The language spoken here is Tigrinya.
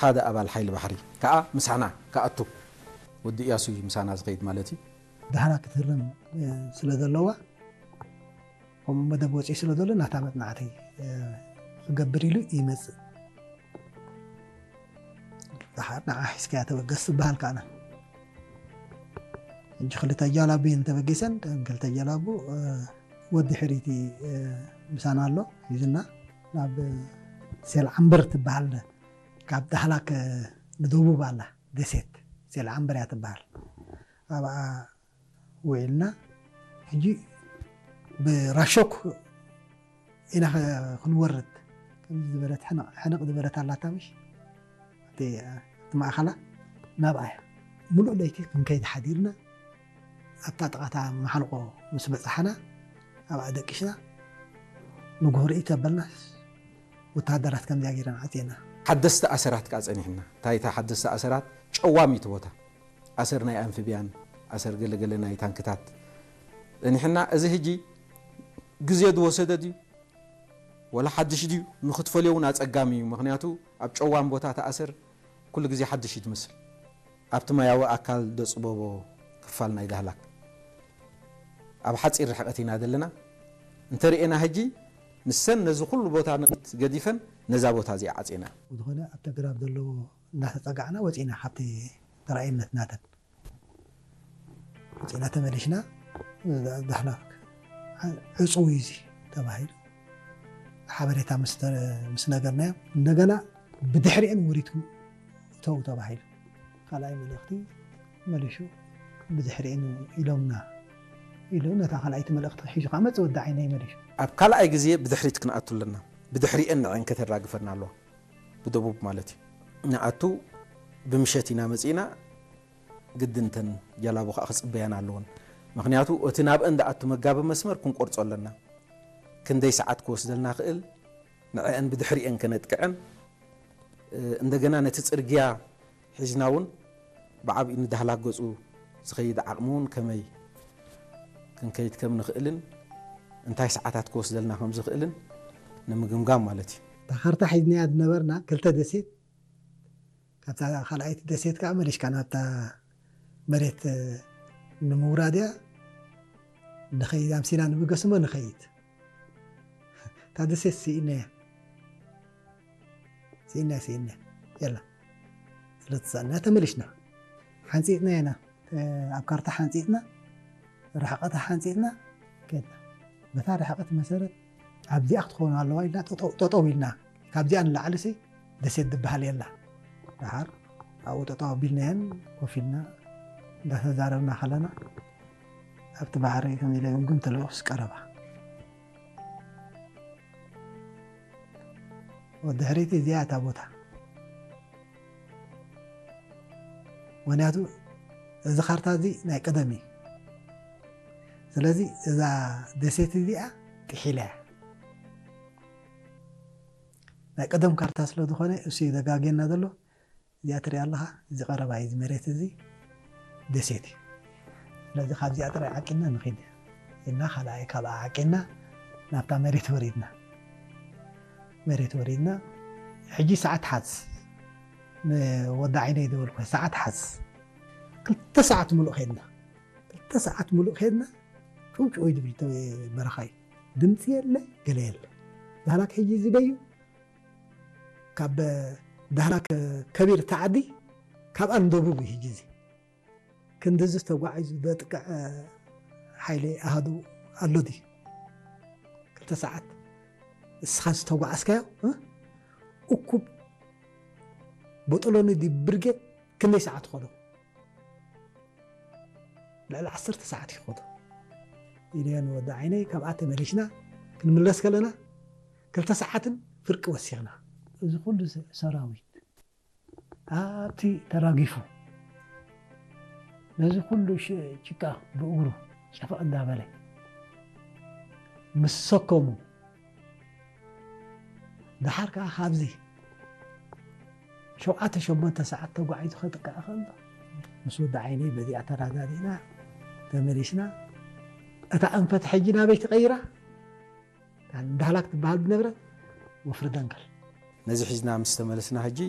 ሓደ ኣባል ሓይሊ ባሕሪ ከዓ ምሳና ክኣቱ፣ ወዲ እያሱ እዩ ምሳና ዝኸይድ ማለት እዩ። ዳሕና ክትህረም ስለ ዘለዋ፣ ከምኡ መደብ ወፂኡ ስለ ዘሎ ናታ መፅናዕቲ ክገብር ኢሉ ይመፅእ። ደሓር ንዓ ሒዝካያ ተበገስ ዝበሃል ከዓና ሕጂ ክልተ ጃላቡ እየን ተበጊሰን። እተን ክልተ ጃላቡ ወዲ ሕሪቲ ምሳና ኣሎ ሒዝና ናብ ሴል ዓምበር ትበሃል፣ ካብ ዳህላክ ንደቡብ ኣላ ደሴት ሴል ዓምበር እያ ትበሃል። ኣብኣ ውዒልና ሕጂ ብራሾክ ኢና ክንወርድ ከምዚ ዝበለት ሕንቕ ዝበለት ኣላታ ምሽ እቲ ማእኸላ ናብኣ እያ። ሙሉእ ለይቲ ክንከይድ ሓዲርና ኣብታ ጥቓታ መሓንቆ ምስ በፃሕና ኣብኣ ደቂስና ንጉህርኢ ተበልናስ ወተሃደራት ከምዚኣ ገይረን ዓፅየና። ሓደስቲ ኣሰራት ከዓ ፀኒሕና። እንታይ እታ ሓደስቲ ኣሰራት ጨዋሚት ቦታ ኣሰር ናይ ኣንፍብያን ኣሰር ገለገለ ናይ ታንክታት ፀኒሕና። እዚ ሕጂ ግዜ ዝወሰደ ድዩ ወላ ሓድሽ ድዩ ንክትፈልዮ እውን ኣፀጋሚ እዩ። ምክንያቱ ኣብ ጨዋም ቦታ ተኣሰር ኩሉ ግዜ ሓድሽ እዩ ትመስል። ኣብቲ ማያዊ ኣካል ደፅበቦ ክፋል ናይ ዳህላክ ኣብ ሓፂር ርሕቀት ኢና ዘለና። እንተርእና ሕጂ ንሰን ነዚ ኩሉ ቦታ ንቅት ገዲፈን ነዛ ቦታ እዚኣ ዓፂና። ዝኾነ ኣብ ተግራብ ዘለዎ እናተፀጋዕና ወፂና ካብቲ ተራእየነት ናተን ወፂና ተመሊሽና። ዳሕና ዕፁው እዩ እዚ ተባሂሉ ሓበሬታ ምስ ነገርናዮ እንደገና ብድሕሪአን ወሪድኩም እተው ተባሂሉ። ካልኣይ መልእኽቲ መሊሹ ብድሕሪአን ኢሎምና ኢሉ ነታ ካልኣይቲ መልእኽቲ ሒዙ ከዓ መፅ ወዲ ዓይነይ መሊሹ። ኣብ ካልኣይ ግዜ ብድሕሪት ክንኣቱ ኣለና። ብድሕሪአን ንዐን ከተራግፈና ኣለዋ። ብደቡብ ማለት እዩ። ንኣቱ ብምሸት ኢና መፂእና። ግድን እተን ጃላቡ ከዓ ክፅበያና ኣለወን። ምክንያቱ እቲ ናብአን ዝኣቱ መጋቢ መስመር ክንቆርፆ ኣለና። ክንደይ ሰዓት ክወስደልና ክእል ንዐአን ብድሕሪአን ከነጥቅዐን እንደገና ነቲ ፅርግያ ሒዝና እውን ብዓብዩ ንዳህላክ ገፁ ዝኸይድ ዓቕሚ እውን ከመይ ክንከይድ ከም ንኽእልን እንታይ ሰዓታት ክወስደልና ከም ዝኽእልን ንምግምጋም ማለት እዩ። እታ ካርታ ሒዝናያ ዝነበርና ክልተ ደሴት ካብታ ካልኣይቲ ደሴት ከዓ መሊሽካ ናብታ መሬት ንምውራድ እያ ንኸይድ ኣምሲና ንብገስሞ ንኸይድ እታ ደሴት ስኢናያ ስኢናያ ስኢናያ የላ ስለተሳእና ተመሊሽና ሓንፂጥና ኢና ኣብ ካርታ ሓንፂጥና ርሕቐታ ሓንፂጥና ከድና በታ ርሕቐት መሰረት ኣብዚኣ ክትኸውን ኣለዋ ኢልና ጠጠው ኢልና ካብዚኣ ንላዕሊ ሲ ደሴት ዝበሃል የላ ደሓር ኣብኡ ጠጠው ኣቢልናየን ኮፍ ኢልና እንዳተዛረብና ከለና ኣብቲ ባሕሪ ከም ኢለ ግምግም ተለውስ ቀረባ ወዲ ሕሪቲ እዚኣ እታ ቦታ ምክንያቱ እዚ ካርታ እዚ ናይ ቀደም እዩ ስለዚ እዛ ደሴት እዚኣ ጥሒላ እያ ናይ ቀደም ካርታ ስለ ዝኾነ እሱ እዩ ዘጋግየና ዘሎ እዚኣ ትሪኣ ኣለኻ እዚ ቀረባ እዩ እዚ መሬት እዚ ደሴት እዩ ስለዚ ካብዚኣ ጥራይ ዓቂና ንኺድ ኢልና ካልኣይ ካብኣ ዓቂና ናብታ መሬት ወሪድና መሬት ወሪድና ሕጂ ሰዓት ሓዝ ንወዲ ዓይነይ ዝበልኩ ሰዓት ሓዝ ክልተ ሰዓት ሙሉእ ኸድና ክልተ ሰዓት ሙሉእ ኸድና ጭውጭው ዝብል በረኻ እዩ ድምፂ የለ ገለ የለ ዳህላክ ሕጂ ዝበዩ ካብ ዳህላክ ከቢር ተዓዲ ካብኣ ንደቡብ እዩ ሕጂ እዚ ክንድዚ ተጓዒዙ ዘጥቅዕ ሓይሊ ኣሃዱ ኣሎ ድዩ ክልተ ሰዓት እስኻ ዝተጓዓዝካዮ እኩብ ቦጦሎኒ ድዩ ብርጌድ ክንደይ ሰዓት ኾዶ ልዕሊ ዓሰርተ ሰዓት ይኾዶ ኢለዮ ንወዲ ዓይነይ ካብኣ ተመሊሽና ክንምለስ ከለና ክልተ ሰዓትን ፍርቂ ወሲኽና እዚ ኩሉ ሰራዊት ኣብቲ ተራጊፉ ነዚ ኩሉ ጭቃ ብእግሩ ጨፈቕ እንዳበለ ምስ ሰከሙ ደሓር ከዓ ካብዚ ሸውዓተ ሸሞንተ ሰዓት ተጓዒዙ ከጥቅዕ ከሎ ምስ ወዲ ዓይነይ በዚኣ ተረዳዲእና ተመሊስና እታ ኣንፈት ሕጂ ናበይ ትቐይራ ዳህላክ ትበሃል ዝነብረት ወፍሪ ደንከል ነዚ ሒዝና ምስ ተመለስና ሕጂ